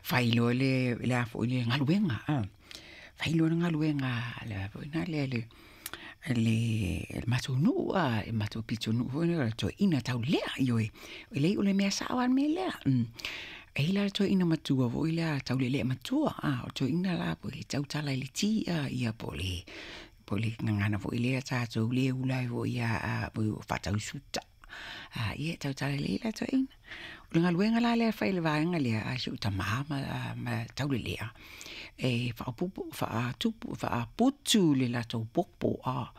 Fai loa le le a foi le galuega a, fai loa le galuega a le a foi na lea le le matou nuu a, le matou pitonuu foi lea o le toeaina taulelea, ioe, e leai o le mea sao lava le mea lea. E i ai la le toeaina matua foi lea taulelea matua a, o le toeaina la e tautala i le ti a, ia po o le po o le gagana foi lea a tatou lea e ula ai foi a faatau suta. A, ia e tautala lelei la toeaina. O le galuega la lea e fai e le vaega lea a si ou tama ma ma Taulelea, e faaopoopo, faatupu, faaputu le latou popo a,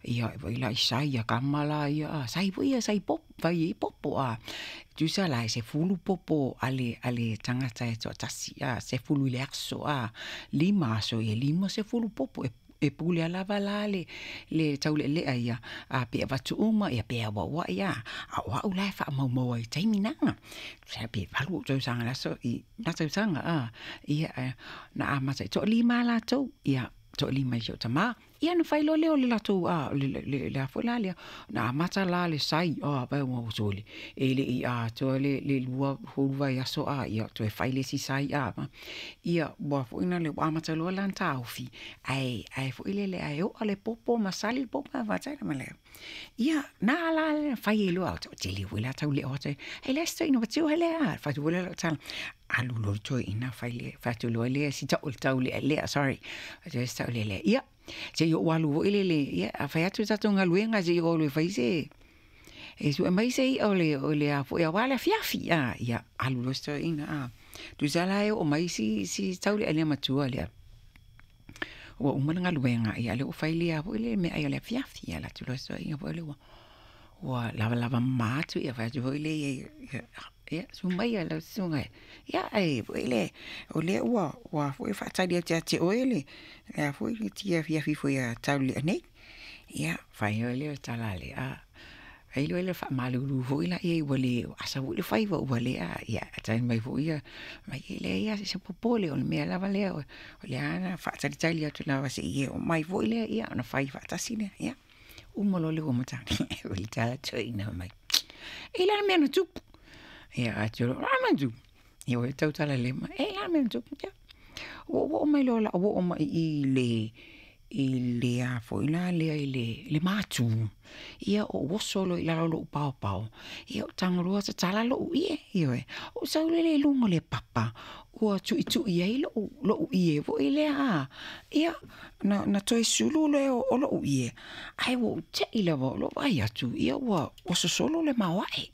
ia vaai la i sai a tama la ia a, sai foi ia sai popo, fai ai popo a. Tusa la e 10 popo a le tagata e toatasi a, 10 i le aso a, 5 aso ia 50 popo e pulea lava la le taulealea ia, a pe avatu uma ia pe auauai a, a o au la e faamaumau ai i taimi na. Tusa pe 8 ou tausaga i le aso i na tausaga a, ia na amata e toalima lava latou, ia toalima i si ou tama, ia ona fai loa lea o le latou le a foi la lea, na amata la le sai, a vaai ua sole, e le i atoa le 2 vaiaso a, ia toe fai le isi sai a, ia ua foi lea ua amata loa la ona taofi, ae foi lele ae oa le popo ma sali le popo ma ia na la le fai ai loa, toatele foi la taulelea o atu ai, e leai se toeaina matua lea, fai atu foi lea o lau tala, alu loa le toeaina fai le, fai atu loa le si taulealea, sorry, fai atu si taulealea, ia, se i ou alu foi lele, ia, a fai atu le tatou galuega se i ou alu e fai se, e sue mai se i'a o le, o le a foi aua le afiafi, a, ia, alu loa si toeaina, a, tusa la e oo mai si, si taulealea matua lea, ua uma le galuega, ia lea ua fai le a foi le meaai o le afiafi, ia alu atu loa si toeaina foi lea ua, ua lavalava mama atu, ia fai atu foi lea i ai, ia, susu maia lau susuga ia e foi le, o lea ua, ua foi faatali atu ia te oe le a foi le afiafi foi a Taulelea nei. Ia, fai loa lea o le tala a le a, fai loa lea faamalulu foi lea i ai ua le asa foi le faiva ua le a, ia tali mai foi ia, fai mai e leai lava se popole o le mea lava lea o lea na faatalitali atu lava seia e oo mai foi lea, ia ona fai faatasi lea. Ia, uma loa le ua matagi, o le tala toeaina mai, e le a le mea na tupu? Ia, atu loa, o le a le mea na tupu? Ia ua tautala le ma, e le a le mea na tupu? Ia, ua ou oo mai loa o le a ou oo mai i le i le a foi la lea i le matu, ia ou oso loa i lalo o lou paopao, ia ou tago loa tatala lou ie, ioe, ou sau lea i luga o le papa, ua tuitui ai lou ie foi lea a, ia, na toe sulu lea o lou ie, ae ua ou te i lava o lou vaai atu, ia ua sosolo le maoae.